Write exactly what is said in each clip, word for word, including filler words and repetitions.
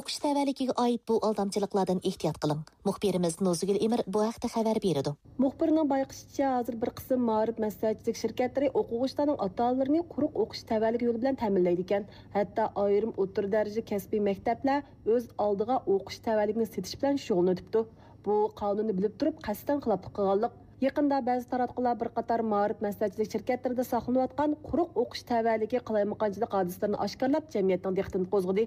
ئوقۇش تەۋەلىكىگە ئائىت بۇ ئالدامچىلىقلاردىن ئېھتىيات قىلىڭ. مۇخبىرىمىز نوزۇگۈل ئىمىر بۇ ھەقتە خەۋەر بېرىدۇ. مۇخبىرنىڭ بايقىشىچە، ھازىر بىر قىسىم مائارىپ مەسلىھەتچىلىك شىركەتلىرى ئوقۇغۇچىلارنىڭ ئاتا-ئانىلىرىنى قۇرۇق ئوقۇش تەۋەلىكى يولى بىلەن تەمىنلەيدىكەن. ھەتتا ئايرىم ئوتتۇرا دەرىجىلىك كەسپىي مەكتەپلەر ئۆز ئالدىغا ئوقۇش تەۋەلىكىنى سېتىش بىلەن شۇغۇللىنىۋېتىپتۇ. بۇ قانۇننى بىلىپ تۇرۇپ قەستەن خىلاپلىق قىلغانلىق. يېقىندا بەزى تاراتقۇلار بىر قاتار مائارىپ مەسلىھەتچىلىك شىركەتلىرىدە ساقلىنىۋاتقان قۇرۇق ئوقۇش تەۋەلىكى قالايمىقانچىلىق ھادىسىلىرىنى ئاشكارىلاپ، جەمئىيەتنىڭ دىققىتىنى قوزغىدى.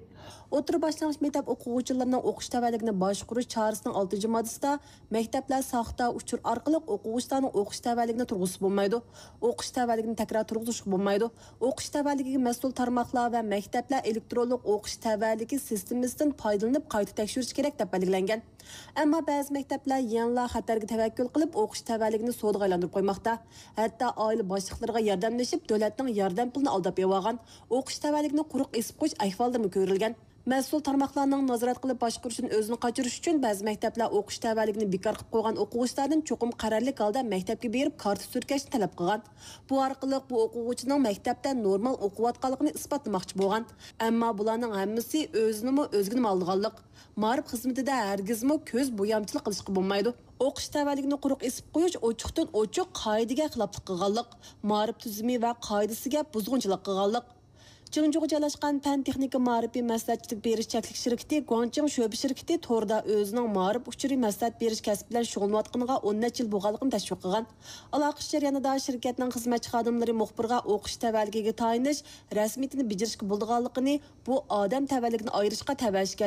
ئوتتۇرا باشلانغۇچ مەكتەپ ئوقۇغۇچىلىرىنىڭ ئوقۇش تەۋەلىكىنى باشقۇرۇش چارىسىنىڭ ئالتىنچى ماددىسىدا، مەكتەپلەر ساختا ئۇچۇر ئارقىلىق ئوقۇغۇچىلارنىڭ ئوقۇش تەۋەلىكىنى تۇرغۇزسا بولمايدۇ. ئوقۇش تەۋەلىكىنى تەكرار تۇرغۇزۇشقا بولمايدۇ. ئوقۇش تەۋەلىكىگە مەسئۇل تارماقلار ۋە مەكتەپلەر ئېلېكترونلۇق ئوقۇش تەۋەلىكى سىستېمىسىدىن پايدىلىنىپ قايتا تەكشۈرۈش كېرەك، دەپ بەلگىلەنگەن. ئەمما بەزى مەكتەپلەر يەنىلا خەتەرگە تەۋەككۈل قىلىپ، ئوقۇش تەۋەلىكىنى سودىغا ئايلاندۇرۇپ قويماقتا. ھەتتا ئائىلە باشلىقلىرىغا ياردەملىشىپ، دۆلەتنىڭ ياردەم پۇلىنى ئالداپ ئېلىۋالغان، ئوقۇش تەۋەلىكىنى قۇرۇق ئېسىپ قويۇش ئەھۋاللىرىمۇ كۆرۈلگەن. مەسئۇل تارماقلارنىڭ نازارەت قىلىپ باشقۇرۇشىدىن ئۆزىنى قاچۇرۇش ئۈچۈن، بەزى مەكتەپلەر ئوقۇش تەۋەلىكىنى بىكار قىلىپ قويغان ئوقۇغۇچىلاردىن چوقۇم قەرەللىك ھالدا مەكتەپكە بېرىپ كارتا تۈركەشنى تەلەپ قىلغان. بۇ ئارقىلىق بۇ ئوقۇغۇچىنىڭ مەكتەپتە نورمال ئوقۇۋاتقانلىقىنى ئىسپاتلىماقچى بولغان. ئەمما بۇلارنىڭ ھەممىسى ئۆزىنىمۇ، ئۆزگىنىمۇ ئالدىغانلىق. مائارىپ خىزمىتىدە ھەرگىزمۇ كۆز بويامچىلىق قىلىشقا بولمايدۇ. ئوقۇش تەۋەلىكىنى قۇرۇق ئېسىپ قويۇش ئوچۇقتىن ئوچۇق قائىدىگە خىلاپلىق قىلغانلىق، مائارىپ تۈزۈمى ۋە قائىدىسىگە بۇزغۇنچىلىق قىلغانلىق. جىڭجۇغا جايلاشقان پەن تېخنىكا مائارىپى مەسلىھەتچىلىك بېرىش چەكلىك شىركىتى گۇاڭچىڭ شۆبە شىركىتى توردا ئۆزىنىڭ مائارىپ ئۇچۇرى مەسلىھەت بېرىش كەسپى بىلەن شۇغۇللىنىۋاتقىنىغا ئون نەچچە يىل بولغانلىقىنى تەشۋىق قىلغان. ئالاقىلىشىش جەريانىدا شىركەتنىڭ خىزمەتچى خادىملىرى مۇخبىرغا ئوقۇش تەۋەلىكىگە تايىنىش رەسمىيىتىنى بېجىرىشكە بولىدىغانلىقىنى، بۇ ئادەم تەۋەلىكىنى ئايرىشقا تەۋە ئىكەنلىكىنى،